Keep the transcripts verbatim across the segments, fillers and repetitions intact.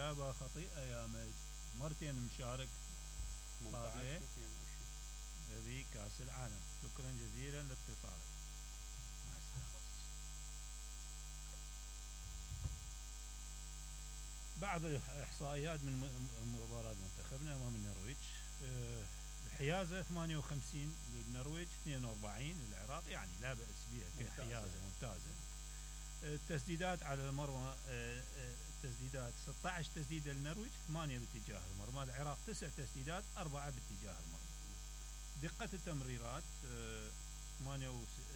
إجابة خطيئة يا مج. مرتين مشارك طاغية في كأس العالم. شكرا جزيلا لاتصالك. مع السلامة. بعض الإحصائيات من مباراة منتخبنا أمام النرويج. الحيازة ثمانية وخمسين للنرويج اثنين وأربعين للعراق، يعني لا بأس بها كحيازة ممتازة. التسديدات على المرمى، التسديدات ستة عشر تسديدة للنرويج، ثمانية باتجاه المرمى. العراق تسع تسديدات، أربعة باتجاه المرمى. دقة التمريرات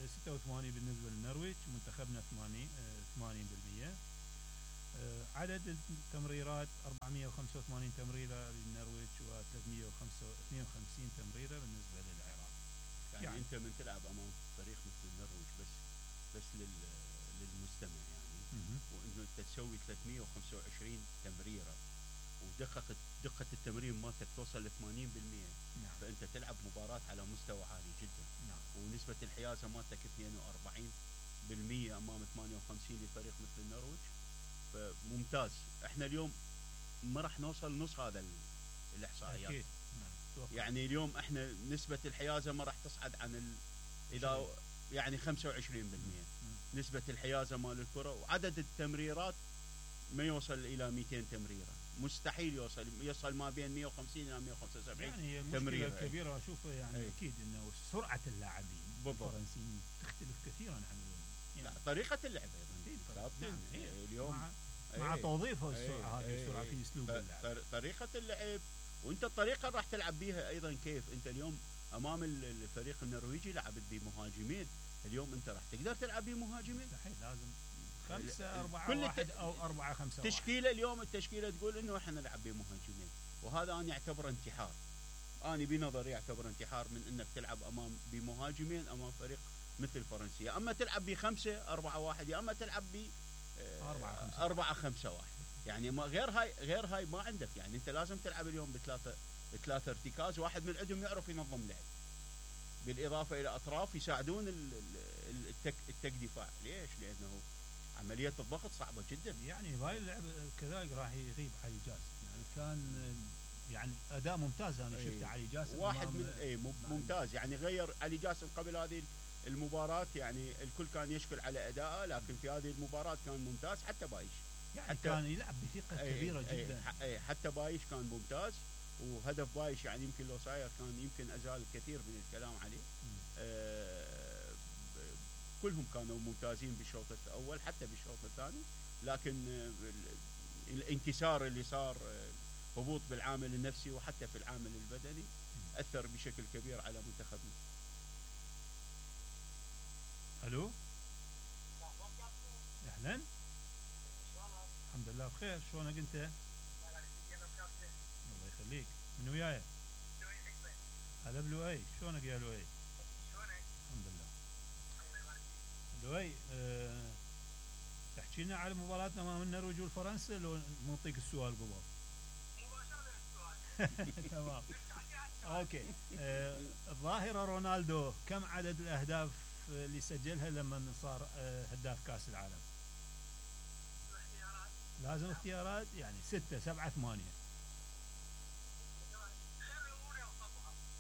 ستة وثمانين بالنسبة للنرويج، منتخبنا ثمانين بالمئة. عدد التمريرات أربعمئة وخمسة وثمانين تمريرة للنرويج وثلاثمئة واثنين وخمسين تمريرة بالنسبة للعراق. يعني, يعني انت من تلعب امام فريق مثل النرويج بس بس لل للمستمع يعني م- وانه انت تسوي ثلاثمئة وخمسة وعشرين تمريرة ودقة دقة التمرير مالتك توصل ل ثمانين بالمئة. نعم. فانت تلعب مباراة على مستوى عالي جدا. نعم. ونسبة الحيازة مالتك اثنين وأربعين بالمئة امام ثمانية وخمسين لفريق مثل النرويج. فممتاز. احنا اليوم ما راح نوصل نص هذا الاحصائيات. أكيد. نعم. يعني اليوم احنا نسبة الحيازة ما راح تصعد عن ال... اذا يعني خمسة وعشرين بالمئة م- نسبة الحيازة مال الكرة، وعدد التمريرات ما يوصل الى مئتين تمريرة. مستحيل يوصل يوصل ما بين مئة وخمسين الى مئة وخمسة وسبعين يعني تمريرة. المشكلة الكبيرة اشوفها يعني أي. اكيد انه سرعة اللاعبين الفرنسيين تختلف كثيرا عن يعني لا طريقة اللعب ايضا. نعم. اليوم مع, مع توظيفه السرعة هذه السرعة في اسلوب اللعب، طريقة اللعب. وانت الطريقة راح تلعب بيها ايضا كيف. انت اليوم امام الفريق النرويجي لعبت بمهاجمين، اليوم انت راح تقدر تلعب بمهاجمين؟ مستحيل. لازم خمسة أربعة واحد أو أربعة خمسة واحد. تشكيلة اليوم التشكيلة تقول إنه إحنا نلعب بمهاجمين، وهذا أنا يعتبر انتحار. أنا بنظري يعتبر انتحار من إنك تلعب أمام بمهاجمين أمام فريق مثل فرنسا. أما تلعب بخمسة أربعة واحد، يا أما تلعب ب أربعة خمسة واحد. يعني ما غير هاي غير هاي ما عندك. يعني أنت لازم تلعب اليوم بثلاثة بثلاثة ارتكاز، واحد من عندهم يعرف ينظم لعب، بالإضافة إلى أطراف يساعدون التك التك دفاع. ليش؟ لأنه عملية الضغط صعبة جدا. يعني هاي اللعب كذلك راح يغيب علي جاسم. يعني كان يعني أداء ممتاز. أنا شفت علي جاسم واحد من أي ممتاز. يعني غير علي جاسم قبل هذه المباراة، يعني الكل كان يشكل على أداءه، لكن في هذه المباراة كان ممتاز. حتى بايش يعني حتى كان يلعب بثقة أي كبيرة أي جدا. أي حتى بايش كان ممتاز. وهدف بايش يعني يمكن لو صاير كان يمكن أزال الكثير من الكلام عليه. آه كلهم كانوا ممتازين بالشوط الأول حتى بالشوط الثاني، لكن الانكسار اللي صار، هبوط بالعامل النفسي وحتى في العامل البدني، أثر بشكل كبير على منتخبنا. ألو، أهلا، الحمد لله بخير. شلونك أنت؟ الله يخليك. من وياي؟ هلا بلوي. شلونك يا لوي؟ الحمد لله. لوي، أه تحكي لنا على مباراتنا امام النرويج والفرنسا لو نعطيك السؤال قبل؟ مباشرة. تمام. اوكي. أه الظاهرة رونالدو كم عدد الاهداف اللي سجلها لما صار أه هداف كاس العالم؟ لازم اختيارات. يعني ستة سبعة ثمانية؟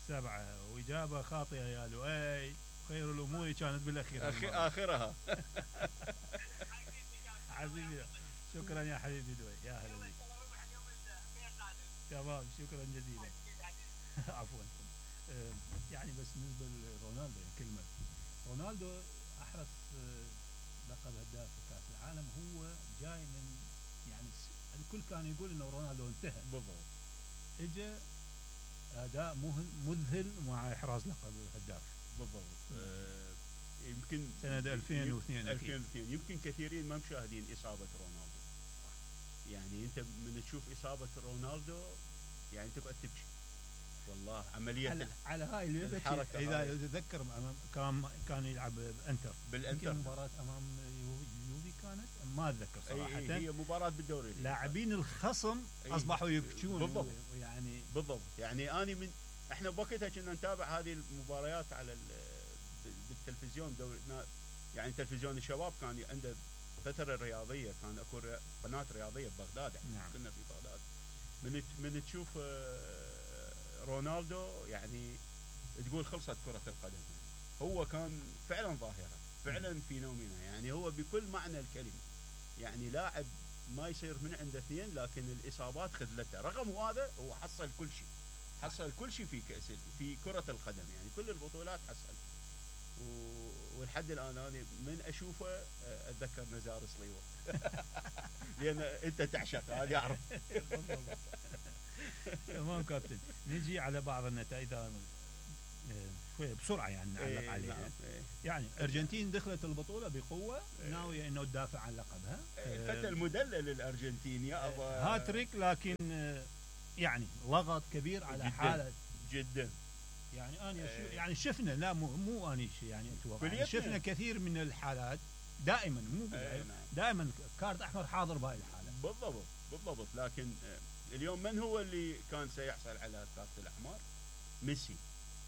سبعة. وإجابة خاطئة يا لؤي. خير الأمور كانت بالأخير. أخي آخرها. حبيبي، شكرا يا حبيبي لؤي. يا هلا بك. تمام، شكرا جزيلا. عفوا. يعني بس بالنسبة لرونالدو كلمة، رونالدو أحرز لقب هداف كأس العالم. هو جاي من يعني الكل كان يقول إنه رونالدو انتهى. بالضبط. إجا أداء مذهل مع إحراز لقب الهداف. بالضبط. آه يمكن سنة ألفين واثنين ألفين واثنين يمكن كثيرين ما مشاهدين إصابة رونالدو. يعني أنت من تشوف إصابة رونالدو يعني تبقى تبكي والله. عملية على, على هاي الحركة. إذا تذكر كان كان يلعب بأنتر بالأنتر مباراة أمام يوفي كانت ما أتذكر صراحة. أي هي مباراة بالدوري. لاعبين الخصم أصبحوا يبكون. بالضبط. يعني بالضبط. يعني أنا من إحنا بوقتها كنا نتابع هذه المباريات على بالتلفزيون. دوري يعني تلفزيون الشباب كان عنده الفتره الرياضيه كان اكو قناه رياضيه ببغداد، نعم. كنا في بغداد، من من تشوف رونالدو يعني تقول خلصت كره القدم. هو كان فعلا ظاهره، فعلا فينومينا، يعني هو بكل معنى الكلمه، يعني لاعب ما يصير من عنده اثنين، لكن الاصابات خذلته. رغم هذا هو حصل كل شيء، حصل كل شيء في كأس في كره القدم، يعني كل البطولات حصل. ولحد الان انا من اشوفه اتذكر نزار صليوه لان انت تعشق هذا يعرف. تمام كابتن، نجي على بعض النتائج شويه بسرعه يعني نعلق ايه عليها. نعم ايه. يعني الارجنتين دخلت البطوله بقوه، ايه. ناويه انه تدافع عن لقبها. الفتى المدلل الارجنتين يا ابا، هاتريك، لكن يعني لغط كبير على جداً حاله جدا. يعني انا ايه. يعني شفنا، لا مو مو اني يعني اتوقع، يعني كليتنا. شفنا كثير من الحالات دائما، مو ايه نعم. دائما كارت احمر حاضر بهاي الحالات. بالضبط بالضبط. لكن اليوم من هو اللي كان سيحصل على الكارت الاحمر؟ ميسي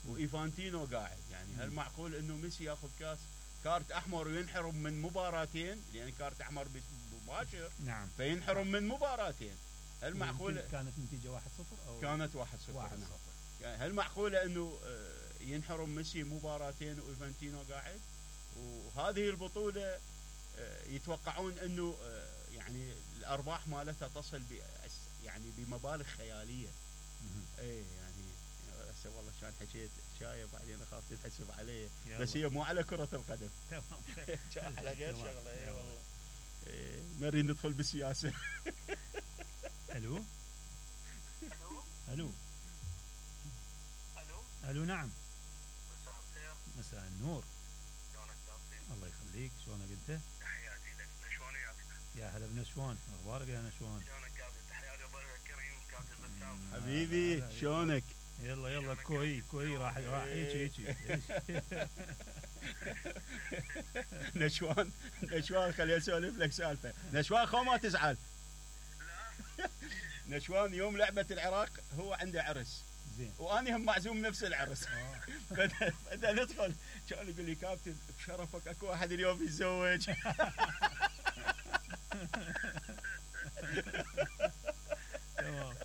وايفانتينو قاعد. يعني هل معقول انه ميسي ياخذ كاس كارت احمر وينحرم من مباراتين؟ لان كارت احمر مباشر، نعم، فينحرم من مباراتين. هل معقول؟ كانت نتيجه واحد صفر او كانت واحد صفر. واحد نعم. صفر. يعني هل معقوله انه ينحرم ميسي مباراتين وايفانتينو قاعد؟ وهذه البطوله يتوقعون انه يعني الارباح مالتها تصل ب يعني بمبالغ خياليه. اي يعني هسه والله كان حكيت شايب بعدين اخاف تتحسب علي، بس هي مو على كره القدم. تمام. كان على غير شغله. اي والله. إيه نريد ندخل بالسياسه. الو الو الو الو نعم. مساء الخير. مساء النور. شلونك كابتن؟ الله يخليك، شلونك انت؟ تحياتي لك. نشوان وياك؟ يا هلا بنشوان، اخبارك يا نشوان؟ شلونك كابتن؟ تحياتي ضيفك الكريم كابتن بسام. حبيبي شلونك؟ يلا يلا كوي كوي راح راح هيك هيك. نشوان نشوان خليني اسولف لك سالفه. نشوان خو ما تزعل. لا نشوان يوم لعبه العراق هو عنده عرس، زين. واني هم معزوم نفس العرس. آه. بدنا ندخل، كان يقول لي كابتن بشرفك اكو واحد اليوم يتزوج. تمام.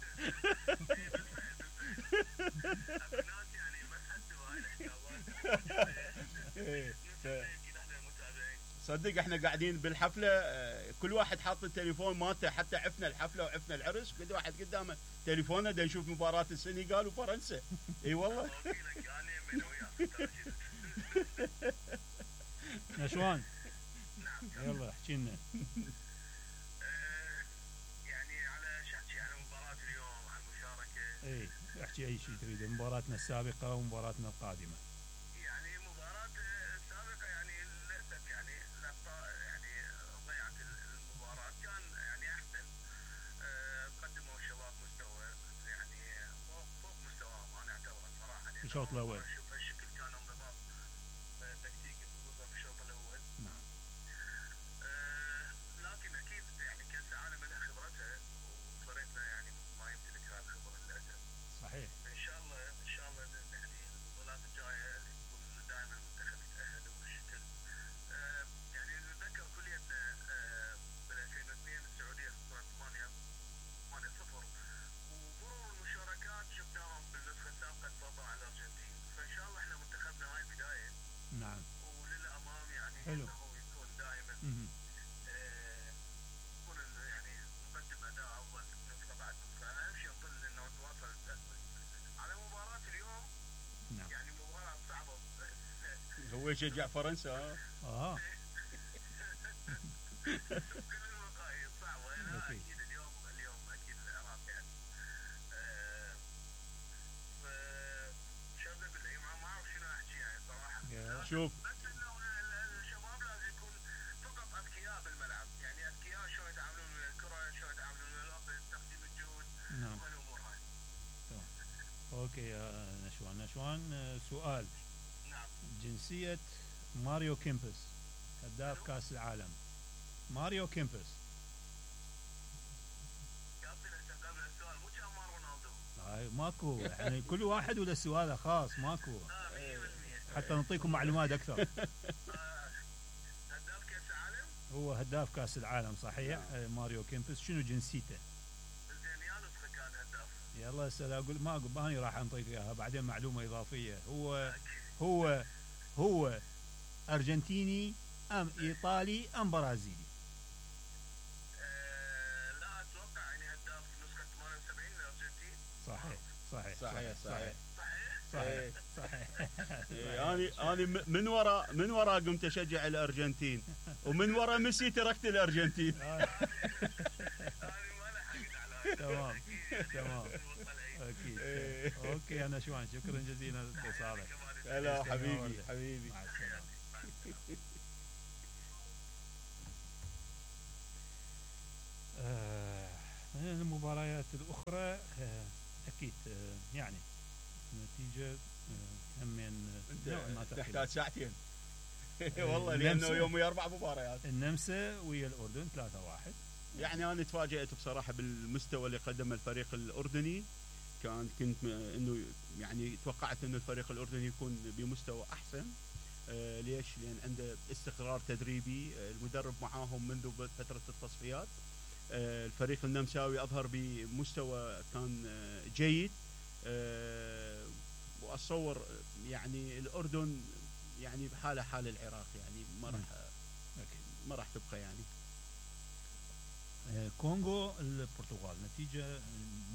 الناس يعني ما تحسوا هاي الحسابات. إيه، ف- اكيد احنا متابعين. صدق احنا قاعدين بالحفله، آه، كل واحد حاط التليفون مالته، حتى عفنا الحفله وعفنا العرس، كل واحد قدامه تليفونه دا نشوف مباراه السنغال وفرنسا. اي والله. وكيلك انا من وياك. نشوان نعم. يلا احكي لنا. آه، يعني على شحكي على مباراة اليوم، على المشاركة. اي احكي اي شيء تريده، مباراتنا السابقه ومباراتنا القادمه. يعني مباراة السابقة يعني للأسف يعني الأخطاء يعني ضيعت المباراة. كان يعني أحسن، آه، قدموا الشباب مستوى يعني فوق فوق مستواهم أنا أعتبره صراحة. في الشوط الأول. شوف الشكل كان انضباط آه، تكتيكي خصوصا في الشوط الأول. نعم. آه، لكن أكيد يعني كأس العالم لها خبرتها، وفريقنا يعني ما يمتلك هذه الخبرة للأسف. صحيح. ان شاء الله ان شاء الله يعني البطولات الجايه يكون دائما المنتخب يتاهل وبالشكل. آه يعني نتذكر كليتنا آه بال ألفين واثنين السعوديه خسرت ثمانية صفر، ومرور المشاركات شفناهم بالنسخه السابقه تفوقوا على الارجنتين. فان شاء الله احنا منتخبنا هاي بدايه، نعم. وللامام يعني حلو. انه يكون دائما مهم. آه، يكون يعني نقدم اداء افضل نسخه بعد نسخه. اهم شيء نظل انه نتواصل التأثير. على مباراة اليوم نعم. يعني مباراة صعبة. هو يشجع فرنسا. اه اه كل المقاييس صعبة. لا أكيد. أكيد اليوم اليوم أكيد العراق يعني. آه، ف- شباب بالله ما ما أعرف شنو أحكي يعني صراحة. يا. شوف بس إنه ال- الشباب لازم يكون فقط أذكياء بالملعب، يعني أذكياء شلون يتعاملون ويا الكرة، شلون يتعاملون ويا الوقت، تقديم الجهد نعم. والأمور هاي. اوكي يا نشوان. نشوان آه، سؤال. نعم. جنسيه ماريو كيمبس هداف كاس العالم. ماريو كيمبس. كابتن هسه قبل السؤال مو كان مال رونالدو. هاي ماكو يعني كل واحد وله سؤاله خاص، ماكو اه مية بالمية. حتى نعطيكم معلومات اكثر. آه، هداف كاس العالم. هو هداف كاس العالم صحيح. آه، ماريو كيمبس. شنو جنسيته؟ زين يا نسخه كان هداف. يلا هسه لا اقول ما اقول اني راح انطيك اياها بعدين معلومه اضافيه. هو هو هو ارجنتيني ام ايطالي ام برازيلي؟ آه لا اتوقع يعني هداف نسخه ثمانية وسبعين الارجنتين. صحيح صحيح صحيح صحيح صحيح صحيح. انا انا من ورا من ورا قمت اشجع الارجنتين ومن ورا ميسي تركت الارجنتين. انا ما لحقت على تمام تمام اكيد. إيه. اوكي انا شوان شكرا جزيلا لاتصالك. هلا حبيبي حبيبي. مع السلامه. آه، المباريات الاخرى آه، اكيد آه، يعني نتيجه آه، همين نوعا ما انت تختلف. تحتاج ساعتين. والله لانه النمسا- يومي اربع مباريات. النمسا ويا الاردن ثلاثة واحد. يعني انا تفاجات بصراحه بالمستوى اللي قدمه الفريق الاردني. كان كنت م- انه يعني توقعت انه الفريق الاردني يكون بمستوى احسن. آه ليش؟ لان عنده استقرار تدريبي. آه المدرب معاهم منذ ب- فتره التصفيات. آه الفريق النمساوي اظهر بمستوى كان آه جيد. آه واتصور يعني الاردن يعني بحاله حال العراق، يعني ما راح اكيد. ما راح تبقى يعني. آه، كونغو البرتغال نتيجه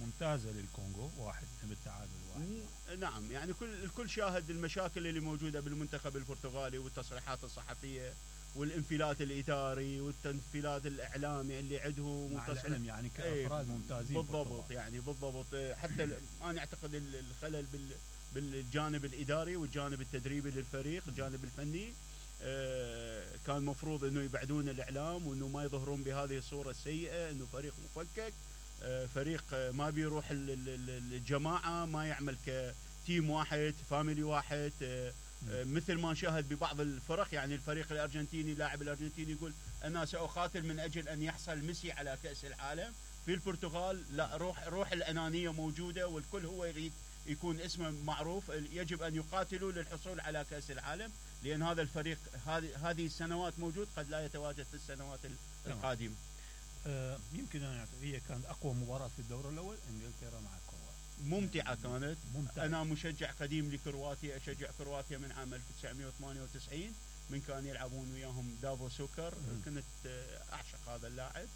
ممتازه للكونغو واحد بالتعادل واحد. مم، نعم، يعني كل الكل شاهد المشاكل اللي موجوده بالمنتخب البرتغالي والتصريحات الصحفيه والانفلات الاداري والانفلات الاعلامي اللي عندهم مع وتصريح- العلم يعني إيه، كافراد ممتازين بالضبط. بالبرتغال. يعني بالضبط. إيه، حتى ال- انا اعتقد ال- الخلل بال بالجانب الاداري والجانب التدريبي للفريق، الجانب الفني. آه، كان مفروض انه يبعدون الاعلام وانه ما يظهرون بهذه الصوره السيئه، انه فريق مفكك، آه، فريق آه، ما بيروح ال- ال- ال- الجماعه، ما يعمل كتيم واحد، فاميلي واحد. آه، آه، مثل ما نشاهد ببعض الفرق، يعني الفريق الارجنتيني، لاعب الارجنتيني يقول انا ساقاتل من اجل ان يحصل ميسي على كاس العالم. في البرتغال لا، روح روح الانانيه موجوده والكل هو يريد يكون اسمه معروف. يجب ان يقاتلوا للحصول على كاس العالم، لان هذا الفريق هذه هذه السنوات موجود، قد لا يتواجد في السنوات القادمه. آه، يمكن ان أعتقد هي كانت اقوى مباراه في الدور الاول انجلترا مع كرواتيا. ممتعه كانت. ممتع. انا مشجع قديم لكرواتيا، اشجع كرواتيا من عام ألف وتسعمئة وثمانية وتسعين من كان يلعبون وياهم دافو سوكر. مم. كنت آه، اعشق هذا اللاعب،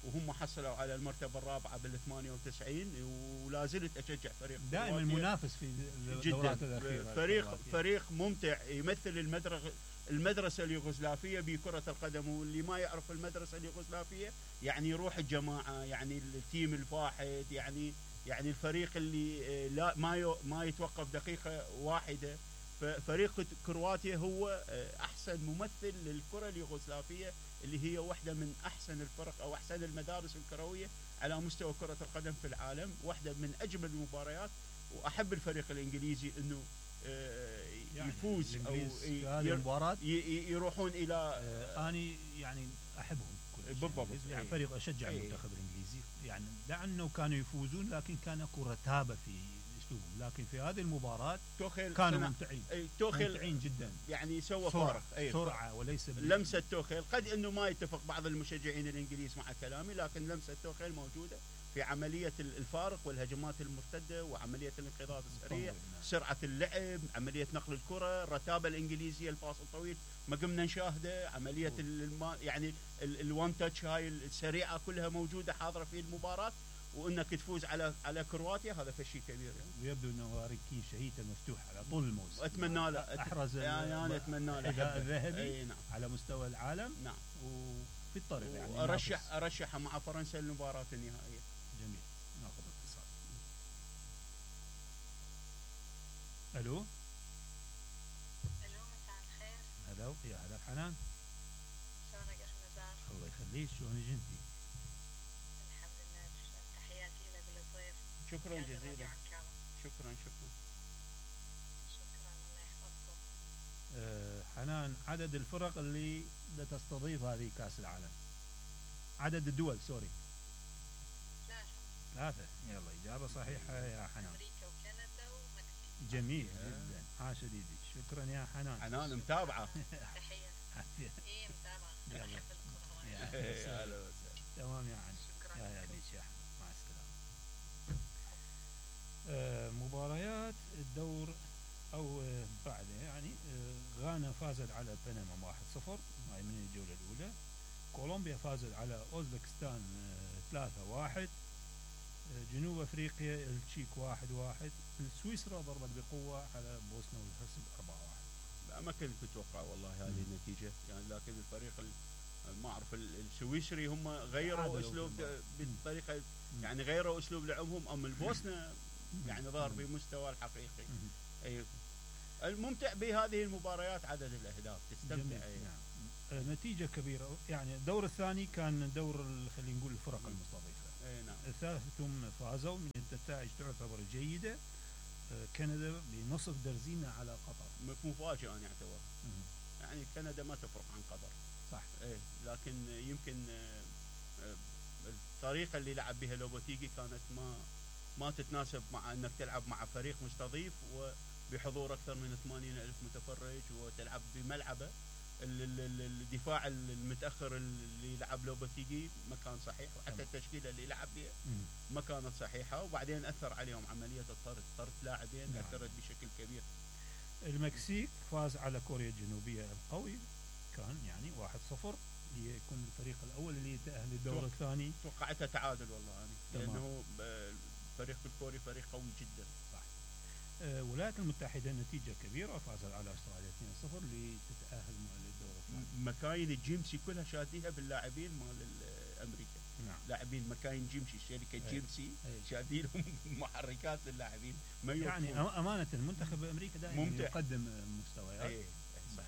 وهم حصلوا على المرتبه الرابعه بال ثمانية وتسعين، ولا زلت اشجع فريق دائما كرواتيا. منافس في الدورات جدا. الاخيره. فريق كرواتيا. فريق ممتع، يمثل المدرسه المدرسه اليوغوسلافيه بكره القدم. واللي ما يعرف المدرسه اليوغوسلافيه يعني روح الجماعه، يعني التيم الواحد، يعني يعني الفريق اللي آه، لا ما يو- ما يتوقف دقيقه واحده. ففريق كرواتيا هو آه، احسن ممثل للكره اليوغوسلافيه، اللي هي واحده من احسن الفرق او احسن المدارس الكرويه على مستوى كره القدم في العالم، واحده من اجمل المباريات. واحب الفريق الانجليزي انه آه، يعني يفوز او الإنجليز في ي- هذه ير- المباراه ي- ي- يروحون الى آه، اني يعني احبهم كلش. بالضبط. يعني إيه. فريق اشجع إيه. المنتخب الانجليزي، يعني لانه كانوا يفوزون لكن كان اكو رتابه في اسلوبهم، لكن في هذه المباراه توخيل كانوا صنع- ممتعين إيه، توخيل ممتعين جدا. يعني سوى سرعه فارق. إيه، سرعه وليس بال- لمسه توخيل، قد انه ما يتفق بعض المشجعين الانجليز مع كلامي، لكن لمسه توخيل موجوده في عمليه ال- الفارق والهجمات المرتده وعمليه الانقضاض السريع، سرعه اللعب، عمليه نقل الكره، الرتابه الانجليزيه، الباص الطويل ما قمنا نشاهده، عمليه الما يعني الوان تاتش هاي السريعه كلها موجوده حاضره في المباراه. وانك تفوز على على كرواتيا هذا فشي كبير يعني. ويبدو انه هاري كين شهيته مفتوح على طول الموسم. واتمنى له أت- احرز يعني انا اتمنى له الحذاء أحبه. الذهبي اي نعم على مستوى العالم نعم. وفي الطريق يعني وارشح ينافس. ارشحها مع فرنسا للمباراه النهائيه. جميل. ناخذ اتصال. الو الو مساء الخير، هلا يا هلا حنان. شلونك اخ نزار؟ الله يخليك، شلونك انتي؟ الحمد لله، تسلم. تحياتي لك وللضيف. شكرا تحياتي جزيلا. للربيع الكرام. شكرا شكرا. شكرا، الله يحفظكم. أه حنان، عدد الفرق اللي تستضيف هذه كاس العالم، عدد الدول سوري. ثلاثة، ثلاثة. يلا إجابة صحيحة يا حنان. امريكا وكندا ومكسيك. جميل جدا، عاش يديك. شكرا يا حنان. حنان متابعه. تحية. عافية. ايه متابعة، انا يلا. احب الكرة يعني إيه، هلا وسهلا. تمام يعني. شكرا يا لكم. هلا بك يا احمد، مع السلامه. آه مباريات الدور او آه بعده يعني آه غانا فازت على بنما واحد صفر، هاي من الجوله الاولى. كولومبيا فازت على اوزبكستان آه ثلاثة واحد. آه جنوب افريقيا التشيك واحد واحد. سويسرا ضربت بقوه على بوسنا والهرسك أربعة واحد. لا ما كنت متوقع والله هذه مم. النتيجه يعني، لكن الفريق ال- ما اعرف ال- السويسري هم غيروا تعادلوا اسلوب في المباراة. بالطريقه مم. يعني غيروا اسلوب لعبهم، اما البوسنه يعني ظهر مم. بمستوى الحقيقي. مم. اي الممتع بهذه المباريات عدد الاهداف جميل. تستمتع. أي. نعم. آه، نتيجة كبيرة يعني. الدور الثاني كان دور ال- خلينا نقول الفرق مم. المستضيفة. اي نعم. الثالثهم فازوا من النتائج تعتبر جيدة. آه، كندا بنصف درزينة على قطر. م- مفاجئ انا اعتبر مم. يعني كندا ما تفرق عن قطر. صح. ايه لكن يمكن آه، آه، الطريقه اللي لعب بها لوبوتيجي كانت ما ما تتناسب مع انك تلعب مع فريق مستضيف وبحضور اكثر من ثمانين ألف متفرج وتلعب بملعبه. ال- ال- ال- الدفاع المتاخر اللي لعب لوبوتيجي ما كان صحيح، وحتى تمام. التشكيله اللي لعب بها مم. ما كانت صحيحه، وبعدين اثر عليهم عمليه الطرد، طرد لاعبين نعم. اثرت بشكل كبير. المكسيك فاز على كوريا الجنوبية القوي، كان يعني واحد صفر ليكون الفريق الأول اللي يتأهل للدور توقع. الثاني. توقعتها تعادل والله انا، تمام. لانه آه، الفريق الكوري فريق قوي جدا. آه، الولايات المتحدة نتيجة كبيرة، فازت على أستراليا اثنين صفر لتتأهل مع الدور الثاني. مكاين الجيمسي كلها شاديها باللاعبين مال ال- امريكا، نعم. لاعبين مكاين جيمسي الشركه أي. جيمسي أي. شادينهم محركات للاعبين ما يعني يوقفون. أم- أمانة المنتخب الأمريكي دائما ممتع. يقدم آه، مستويات. اي صح.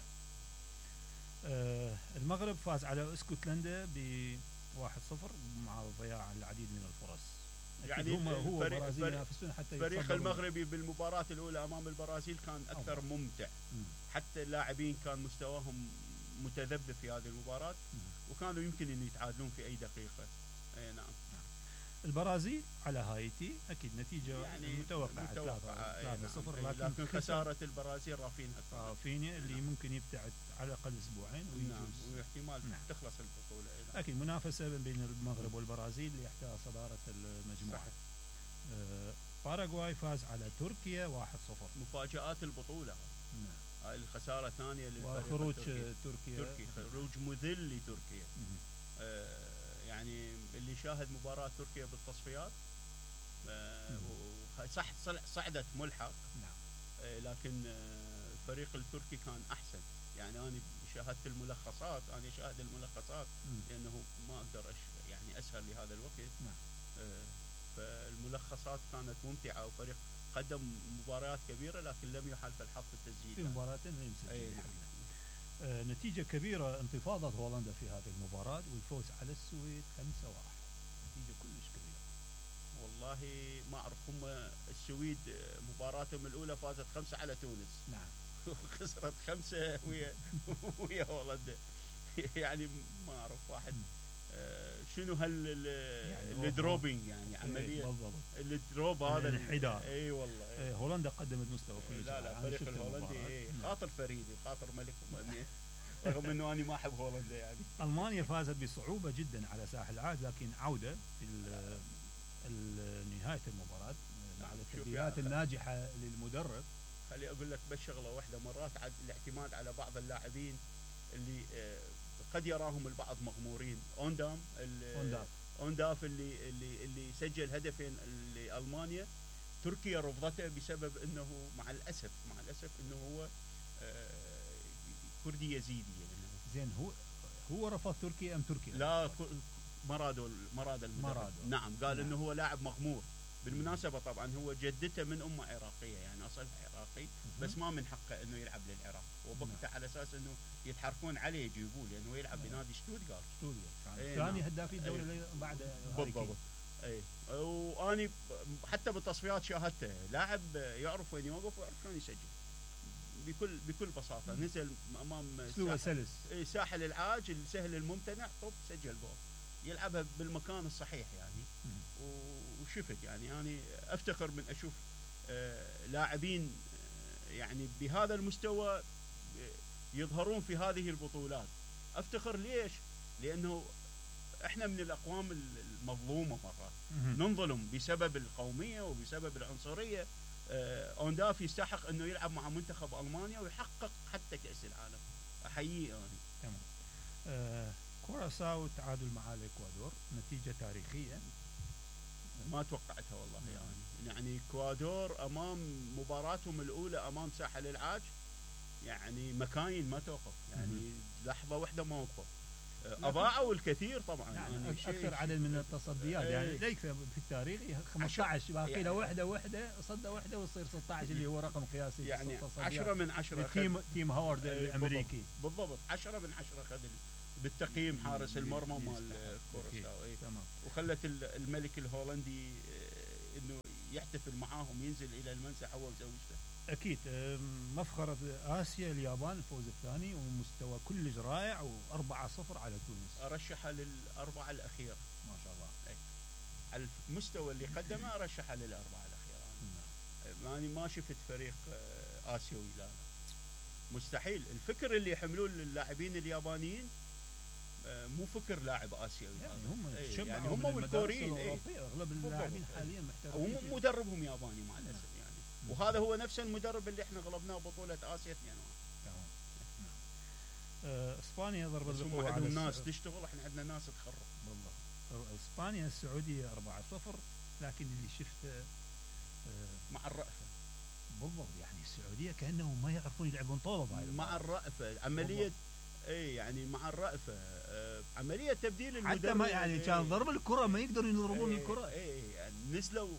آه المغرب فاز على اسكتلندا ب واحد صفر مع ضياع العديد من الفرص. أكيد يعني هم هو فريق- البرازيل فريق- ينافسون حتى الفريق يتصدرون. المغربي بالمباراه الاولى امام البرازيل كان اكثر أفضل. ممتع، مم. حتى اللاعبين كان مستواهم متذبذب في هذه المباراه، مم. وكانوا يمكن ان يتعادلون في اي دقيقه. اي نعم. البرازيل على هايتي اكيد نتيجه يعني متوقعه متوقعة، أي ثلاثة نعم. صفر، أي لكن, لكن خساره البرازيل رافينها كانت. رافينيا اللي نعم. ممكن يبتعد على الاقل اسبوعين نعم، ويجوز. واحتمال نعم. تخلص البطوله. أي نعم. اكيد منافسه بين المغرب والبرازيل ليحتل صداره المجموعه. صح. آه باراغواي فاز على تركيا واحد صفر. مفاجآت البطوله نعم. هاي الخساره الثانيه للفريق وخروج التركي. آه، تركيا. تركي خروج مذل لتركيا. مم. آه يعني اللي شاهد مباراه تركيا بالتصفيات آه مم. و- صح صل- صعدت ملحق، نعم. آه لكن آه الفريق التركي كان احسن. يعني انا شاهدت الملخصات، انا شاهد الملخصات مم. لانه ما اقدر أش يعني اسهر لهذا الوقت. نعم. آه فالملخصات كانت ممتعه، وفريق قدم مباريات كبيره لكن لم يحالف الحظ في التسجيل. في مباراتين لم يسجل أي. الحقيقة. آه نتيجة كبيرة، انتفاضة هولندا في هذه المباراة والفوز على السويد خمسة واحد. نتيجة كلش كبيرة. والله ما اعرف، هم السويد آه، مباراتهم الاولى فازت خمسه على تونس نعم. وخسرت خمسه ويا ويا هولندا. يعني ما اعرف واحد آه، شنو هال يعني ال- هو- الدروبينج يعني إيه، عمليه بالضبط. الدروب هذا ال- الانحدار. اي والله. آه هولندا قدمت مستوى كلش لا لا رائع. أنا الفريق شفت الهولندي المباراة. إيه، نعم. خاطر فريدي وخاطر ملك أمنية. رغم انه انا ما احب هولندا يعني. ألمانيا فازت بصعوبة جدا على ساحل العاج، لكن عودة في ال- ال- نهاية المباراة نعم، بعد شوف يا التبديلات أخي. الناجحة للمدرب. خلي اقول لك بس شغله واحده، مرات عاد الاعتماد على بعض اللاعبين اللي آه، قد يراهم البعض مغمورين. اوندام ال- أونداف. اونداف اللي اللي اللي سجل هدفين لالمانيا، تركيا رفضته بسبب انه مع الاسف مع الاسف انه هو آه، كردي يزيدي يعني. زين هو هو رفض تركيا ام تركيا؟ لا ك- مرادو مراد المدرب. مرادو. نعم قال نعم. انه هو لاعب مغمور. بالمناسبه طبعا هو جدته من امه عراقيه يعني اصلها عراقي، بس ما من حقه انه يلعب للعراق، وبقته على اساس انه يتحركون عليه يجيبوه لانه يلعب نعم. بنادي شتوتغارت. سوريا كان إيه ثاني نعم. هدافي الدوري اللي بعد هاري كين. بالضبط. اي واني حتى بالتصفيات شاهدته لاعب يعرف وين يوقف ويعرف شلون يسجل بكل بكل بساطه. نزل امام اسلوبه ساحل, سلس. إيه، ساحل العاج السهل الممتنع، طب سجل جول، يلعبها بالمكان الصحيح يعني. مم. وشفت يعني انا افتخر من اشوف آه لاعبين آه يعني بهذا المستوى آه، يظهرون في هذه البطولات. افتخر ليش؟ لانه احنا من الاقوام المظلومه مرات، مهم. ننظلم بسبب القوميه وبسبب العنصريه. آه، اونداف يستحق انه يلعب مع منتخب المانيا ويحقق حتى كاس العالم. احييه انا. تمام. آه كوراساو تعادل مع الاكوادور، نتيجه تاريخيه. ما توقعتها والله يعني. يعني اكوادور امام مباراتهم الاولى امام ساحل العاج يعني مكاين ما توقف، يعني مم. لحظه واحده ما وقفوا. اضاعوا الكثير طبعا يعني, يعني يعني شيء- اكثر عدد من التصديات إيه. يعني لا يكفي في التاريخ خمسة عشر باقي له يعني- وحده وحده صده وحده ويصير ستة عشر اللي هو رقم قياسي في يعني التصديات. عشرة من عشرة أخذ- تيم تيم هاورد إيه، الامريكي. بالضبط عشرة من عشرة اخذ بالتقييم حارس المرمى مال كوراساو. إيه. تمام. وخلت ال- الملك الهولندي آه، انه يحتفل معاهم، ينزل الى المنسف هو وزوجته. اكيد. أم، مفخرة اسيا اليابان الفوز الثاني ومستوى كلش رائع وأربعة صفر على تونس. ارشحها للاربعه الاخيره ما شاء الله. على المستوى اللي قدمه، ارشحها للاربعه الاخيره. نعم. ماني ما شفت فريق آه، اسيوي، لا لا مستحيل. الفكر اللي يحملوه اللاعبين اليابانيين آه، مو فكر لاعب اسيوي. يعني هذا. هم إيه، تشبعوا يعني من هم المدارس والكوريين. إيه. الأوروبية. اغلب بالضبط. اللاعبين إيه. حاليا محترفين. وم- مدربهم ياباني مع الاسف يعني. وهذا هو نفس المدرب اللي احنا غلبناه بطوله اسيا اثنين واحد. تمام. نعم. آه، اسبانيا ضربة بس هم القوة على عندهم ناس الس- تشتغل، احنا عندنا ناس تخرب. بالضبط. اسبانيا السعودية أربعة صفر، لكن اللي شفته آه، مع الرأفه. بالضبط يعني السعودية كأنهم ما يعرفون يلعبون طوبة بهاي مع المباراة. الرأفه عمليه. اي يعني مع الرأفه آه، عمليه تبديل المدرب. حتى ما يعني كان ضرب الكرة ما يقدرون يضربون إيه، الكرة. اي يعني نزلوا.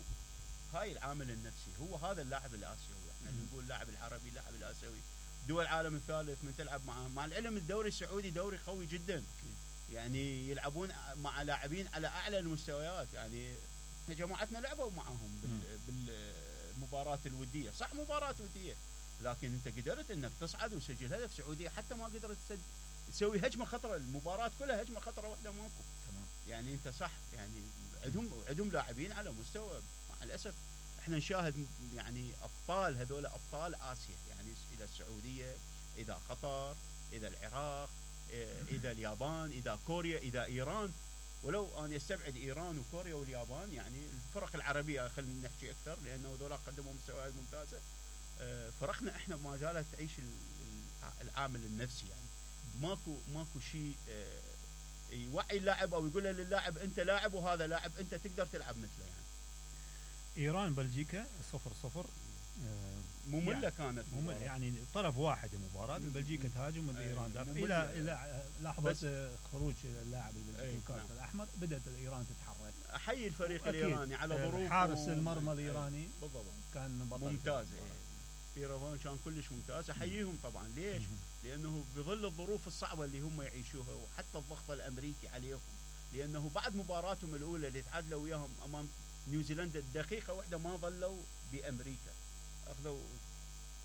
هاي العامل النفسي، هو هذا اللاعب الاسيوي. احنا مم. نقول اللاعب العربي، اللاعب الاسيوي. دول العالم الثالث من تلعب معه، مع العلم الدوري السعودي دوري قوي جدا. يعني يلعبون مع لاعبين على اعلى المستويات. يعني احنا جماعتنا لعبوا معاهم بال- بالمباراه الوديه، صح مباراه وديه، لكن انت قدرت انك تصعد وسجل هدف. سعوديه حتى ما قدرت تسجل تسوي هجمه خطره، المباراه كلها هجمه خطره واحده ماكو. تمام. يعني انت صح، يعني عندهم عندهم لاعبين على مستوى. مع الاسف احنا نشاهد يعني ابطال، هذول ابطال اسيا، يعني اذا السعوديه، اذا قطر، اذا العراق، إيه، اذا اليابان، اذا كوريا، اذا ايران. ولو انا استبعد ايران وكوريا واليابان، يعني الفرق العربيه خلينا نحكي اكثر لانه هذول قدموا مستويات ممتازه. آه، فرقنا احنا ما زالت تعيش ال- العامل النفسي. يعني ماكو ماكو شيء آه، يوعي اللاعب او يقول للاعب انت لاعب وهذا لاعب، انت تقدر تلعب مثله. يعني ايران بلجيكا صفر صفر. آه، ممله يعني كانت ممل مباراة. يعني طرف واحد المباراة. مم. بلجيكا تهاجم والايران أي، دافع ممل. الى الى لحظة بس- آه، خروج اللاعب البلجيكي أي، الكارت نعم. الاحمر بدأت الايران تتحرك. احيي الفريق أكيد. الايراني على آه، ظروف حارس المرمى الايراني بالضبط كان بطل ممتاز. في المباراة. ايران كان كلش ممتاز. احييهم طبعا. ليش؟ مم. لانه بظل الظروف الصعبه اللي هم يعيشوها وحتى الضغط الامريكي عليهم، لانه بعد مباراتهم الاولى اللي تعادلوا وياهم امام نيوزيلندا دقيقه واحده ما ظلوا بامريكا، اخذوا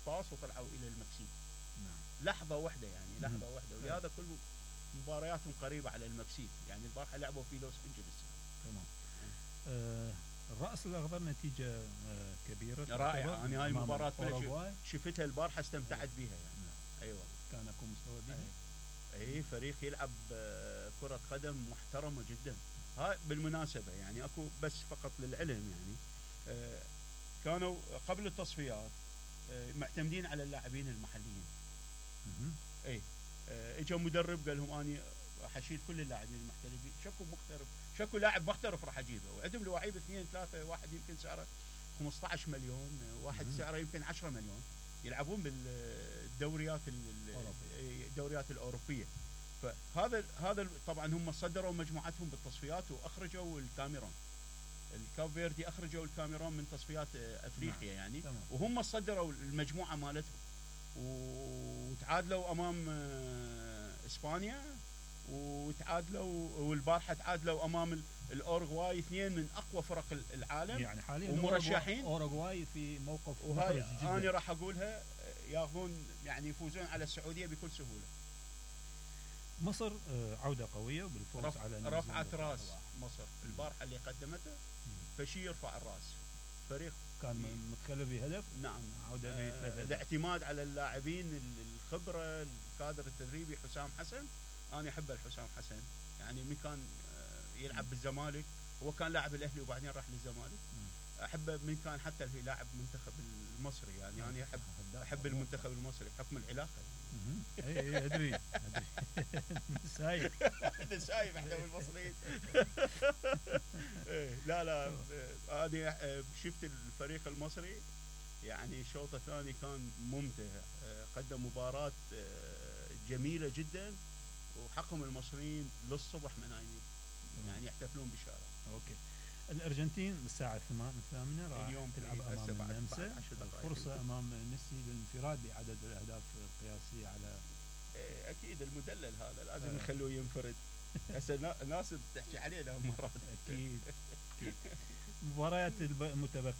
باص وطلعوا الى المكسيك. نعم. لحظه واحده يعني مم. لحظه واحده. ولهذا كل مبارياتهم قريبه على المكسيك. يعني البارحه لعبوا في لوس انجلوس. تمام. آه الرأس الأخضر نتيجة آه كبيرة. رائعه. تعتبر انا هاي أمام المباراه أوروغواي. شفتها البارحه استمتعت بها يعني. نعم. ايوه. كان اكو مستوى بها. اي فريق يلعب آه، كرة قدم محترمة جدا. هاي بالمناسبة يعني اكو بس فقط للعلم يعني آه، كانوا قبل التصفيات آه، معتمدين على اللاعبين المحليين. مهم. اي آه، اجى مدرب قال لهم اني راح اشيل كل اللاعبين المحترفين، شكو محترف، شكو لاعب محترف راح اجيبه، وعندهم لعيبه اثنين ثلاثة، واحد يمكن سعره خمسة عشر مليون، واحد مهم. سعره يمكن عشرة مليون، يلعبون بالدوريات الدوريات الاوروبيه. فهذا هذا طبعا هم صدروا مجموعتهم بالتصفيات واخرجوا الكاميرون. الكاب فيردي اخرجوا الكاميرون من تصفيات افريقيا يعني. تمام. وهم صدروا المجموعه مالتهم وتعادلوا امام آه، اسبانيا، وتعادلوا والبارحه تعادلوا امام ال- الاورغواي، اثنين من اقوى فرق ال- العالم. يعني حاليا ومرشحين. أوروغواي- اوروغواي في موقف وهاي محرج جدا. انا راح اقولها آه، ياخذون يعني يفوزون على السعوديه بكل سهوله. مصر آه، عودة قوية بالفوز رف... على نيوزيلندا رفعت راس واحد. مصر البارحه اللي قدمته، فشي يرفع الراس. فريق كان م- متخلف بهدف. نعم عودة آه، بثلاث أهداف. الاعتماد على اللاعبين ال- الخبره، الكادر التدريبي. حسام حسن انا احب الحسام حسن يعني من كان آه، يلعب بالزمالك، هو كان لاعب الاهلي وبعدين راح للزمالك. احبه من كان حتى اللي لاعب منتخب المصري، يعني انا احب احب المنتخب المصري بحكم العلاقه. اي اي ادري ادري سايب انت شايف احنا المصريين. لا لا انا شفت الفريق المصري يعني الشوط الثاني كان ممتع، قدم مباراة جميلة جدا، وحقهم المصريين للصبح منايمين يعني يحتفلون بشارع. اوكي. الارجنتين الساعة الثامنة راح اليوم تلعب امام النمسا، فرصة امام ميسي للانفراد بعدد الاهداف القياسية على اكيد المدلل هذا لازم نخلوه ينفرد. هسه الناس تحكي عليه مرات. اكيد اكيد. مباريات المتبقية